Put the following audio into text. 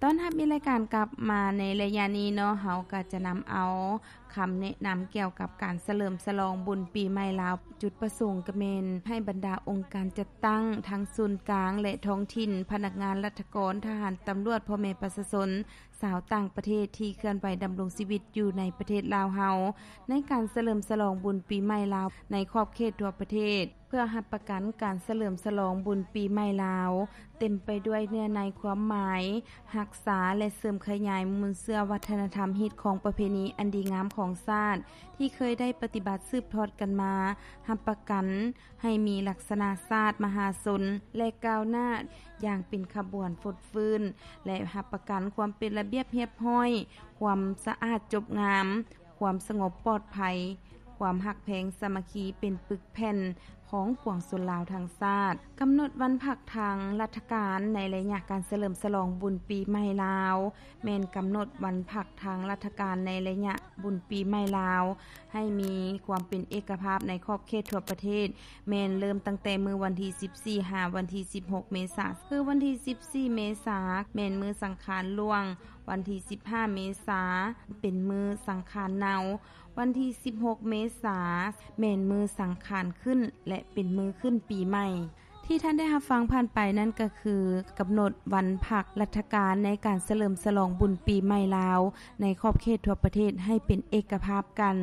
ຕ້ອນຮັບມີລາຍການກັບມາໃນໄລຍະນີ້ເນາະ, ເຮົາກໍຈະນຳເອົາຄຳແນະນຳກ່ຽວກັບການສະເຫຼີມສະຫຼອງບຸນປີໃໝ່ລາວ, ຈຸດປະສົງກໍແມ່ນໃຫ້ບັນດາອົງການຈັດຕັ້ງທັງສູນກາງ ແລະ ທ້ອງຖິ່ນ, ພະນັກງານລັດຖະກອນ, ທະຫານ, ຕຳຫຼວດ, ພໍ່ແມ່ປະຊາຊົນຊາວຕ່າງປະເທດທີ່ເຄື່ອນໄຫວດຳລົງຊີວິດຢູ່ໃນປະເທດລາວເຮົາ ໃນການສະເຫຼີມສະຫຼອງບຸນປີໃໝ່ລາວໃນຂອບເຂດທົ່ວປະເທດ ເພື່ອຮັບປະກັນການສະເຫຼີມສະຫຼອງບຸນປີໃໝ່ລາວ ເຕັມໄປດ້ວຍເນື້ອໃນຄວາມໝາຍ, ຮັກສາ ແລະ ເສີມຂະຫຍາຍມູນເຊື້ອວັດທະນະທຳ, ຮີດຄອງ, ປະເພນີອັນດີງາມຂອງຊາດ ທີ່ເຄີຍໄດ້ປະຕິບັດສືບທອດກັນມາ, ຮັບປະກັນໃຫ້ມີລັກສະນະຊາດມະຫາຊົນ ແລະ ກ້າວໜ້າຢ່າງເປັນຂະບວນຟົດຟື້ນ ແລະ ຮັບປະກັນຄວາມເປັນລະບຽບຮຽບຮ້ອຍ, ຄວາມສະອາດຈົບງາມ, ຄວາມສະຫງົບປອດໄພ, ຄວາມຮັກແພງສາມັກຄີເປັນປຶກແຜ່ນຂອງປວງຊົນລາວທັງຊາດ. ກຳນົດວັນພັກທາງລັດຖະການໃນໄລຍະການສະເຫຼີມສະຫຼອງບຸນປີໃໝ່ລາວ ແມ່ນກຳນົດວັນພັກທາງລັດຖະການໃນໄລຍະບຸນປີໃໝ່ລາວ ໃຫ້ມີຄວາມເປັນເອກະພາບໃນຂອບເຂດທົ່ວປະເທດ ແມ່ນເລີ່ມຕັ້ງແຕ່ມື້ວັນທີສິບສີ່ ຫາວັນທີສິບຫົກ ເມສາ. ຄືວັນທີສິບສີ່ ເມສາ ແມ່ນມື້ສັງຂານຫຼວງ, ວັນທີສິບຫ້າ ເມສາ ເປັນມື້ສັງຂານເນົາ, ວັນທີສິບຫົກ ເມສາ ແມ່ນມື້ສັງຂານຂຶ້ນ ແລະ ເປັນມື້ຂຶ້ນປີໃໝ່. ທີ່ທ່ານໄດ້ຮັບຟັງຜ່ານໄປນັ້ນກໍຄື ກຳນົດວັນພັກລັດຖະການໃນການສະເຫຼີມສະຫຼອງບຸນປີໃໝ່ລາວ ໃນຂອບເຂດທົ່ວປະເທດໃຫ້ເປັນເອກະພາບກັນ.